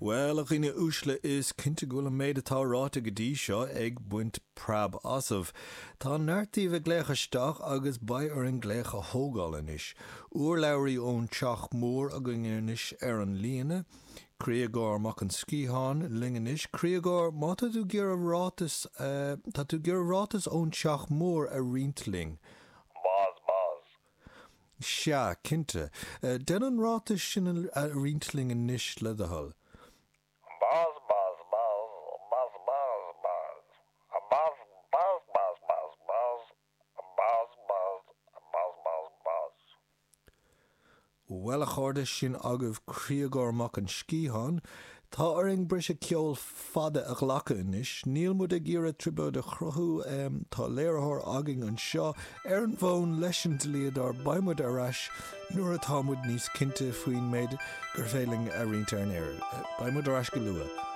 Bhuel, a dhaoine uaisle, is cinnte go bhfuil an méid atá ráite go dtí seo ag baint preab asaibh. Tá neart daoibh ag glaoch isteach agus beidh orainn glaoch a thógáil anois. Urlabhraí ón Teach Mór againn anois ar an líne. Criogóir Mac an Sciatháin linn anois. Criogóir, má tá tú ag iarraidh ráiteas, tá tú ag iarraidh ráiteas ón Teach Mór a roinnt linn. Buzz buzz. Sea, cinnte. Déan an ráiteas sin a roinnt linn anois, le do thoil. Buzz buzz buzz buzz buzz buzz buzz buzz buzz buzz buzz buzz buzz buzz buzz buzz. Bhuel, a chairde, sin agaibh Criogóir Mac an Sciatháin. Tá orainn briseadh ceoil fada a ghlacadh anois. Níl muid ag iarraidh trioblóid a chruthú. Tá léiritheoir againn anseo ar an bhfón leis an dlíodóir. Beidh muid ar ais nuair atá muid níos cinnte faoin méid gur féidir linn a roinnt ar an aer. Beidh muid ar ais go luath.